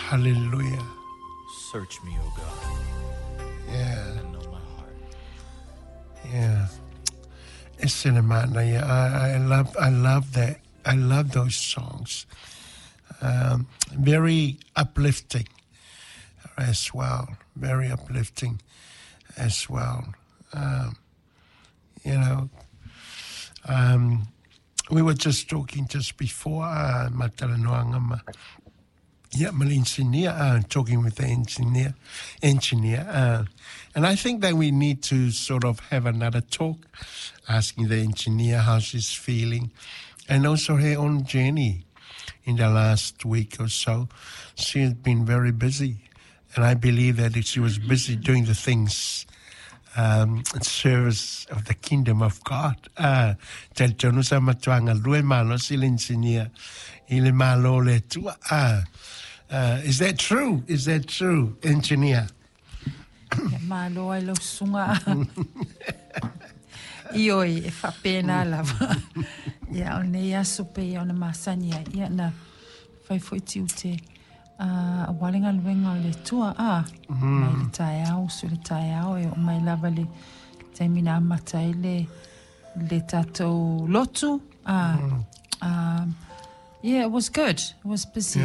Hallelujah. Search me, O God, and know my heart. Yeah. It's cinema. Yeah, I love that. I love those songs. Very uplifting as well. Very uplifting as well. You know, we were just talking just before matalanoaga ma ia ma le engineer, talking with the engineer, and I think that we need to sort of have another talk, asking the engineer how she's feeling, and also her own journey in the last week or so. She has been very busy, and I believe that she was busy doing the things in service of the kingdom of God. Talitonu sa matua galue malosi le engineer i le Malo o le Atua. Is that true? Is that true, engineer? Ia malo ai lau susuga. Ioe, e faapena lava. Ia, o lenei aso pei ona masani ai, ia na fai foi tiute aua le galuega o le Atua, a, mai le taeao, usu i le taeao, e oo mai lava le taimi na amata ai le tatou lotu, a, yeah, it was good. It was busy.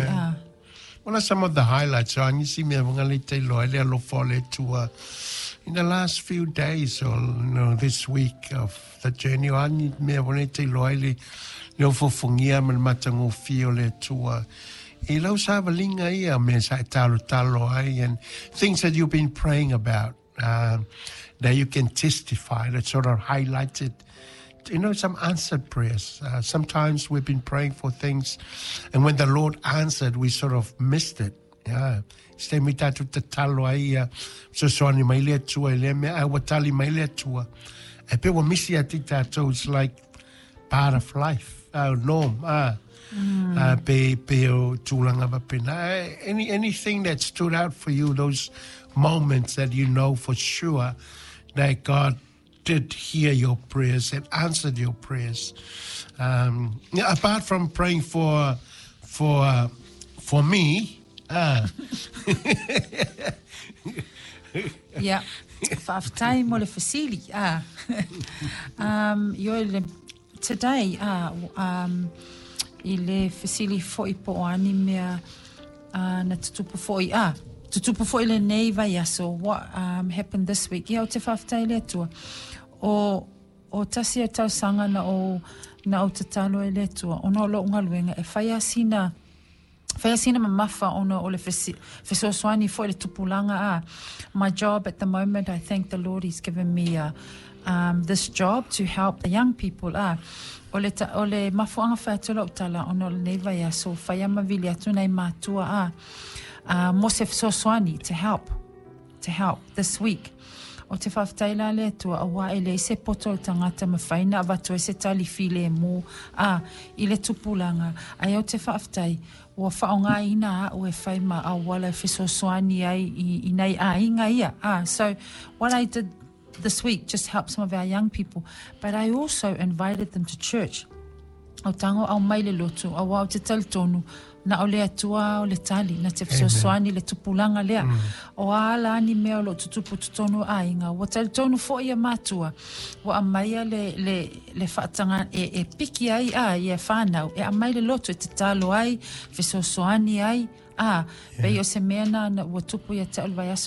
What are some of the highlights? So, nisi mea nga le te loa le alofa o le Atua in the last few days or this week of the journey. O ani mea le te loa le ofofogia ma le matagofie o le Atua. I lau savaliga ia mea sa e talotalo ai and things that you've been praying about that you can testify, that sort of highlighted some answered prayers. Sometimes we've been praying for things, and when the Lord answered, we sort of missed it. Yeah. Se taimi tatou tatalo ai ia fesoasoani mai le Atua i lea mea, ae ua tali mai le Atua. E pe ua misi atu i tatou, it's like part of life, our norm. Ah. Pe o tulaga faapena. Anything that stood out for you, those moments that you know for sure that God did hear your prayers and answered your prayers. Yeah, apart from praying for me, Ia, faafetai mo le fesili. Ah. Ioe le, today, i le fesili foi po o a ni mea na tutupu foi, tutupu foi lenei vaiaso, what happened this week. Ia, ou te faafetai i le Atua. O tasi o tausaga na ou tatalo ai le Atua, ona o lou galuega, e fai lava sina mamafa ona o le fesoasoani foi le tupulaga a. My job at the moment, I thank the Lord he's given me this job to help the young people. O le mafuaaga fai atu lau tala ona o lenei vaiaso, fai a ma vili atu nai matua mo se fesoasoani to help this week. Ou te faafetai la le Atua auā e leai se poto o le tagata mafai na avatu ai se tali filemu i le tupulaga ae ou te faafetai ua faaaogaina a'u e fai ma auala e fesoasoani ai i nai aiga ia. So what I did this week, just help some of our young people, but I also invited them to church. O tago aumai le lotu auā ou te talitonu na o le Atua o le tali na te fesoasoani le tupulaga lea. O a ala ani mea o loo tutupu totonu o aiga ua talitonu foʻi ia matua ua aumaia le faataga e piki ai ia fanau e aumai le lotu e tatalo ai fesoasoani ai pei o se mea na ua tupu ia te au le vaiaso.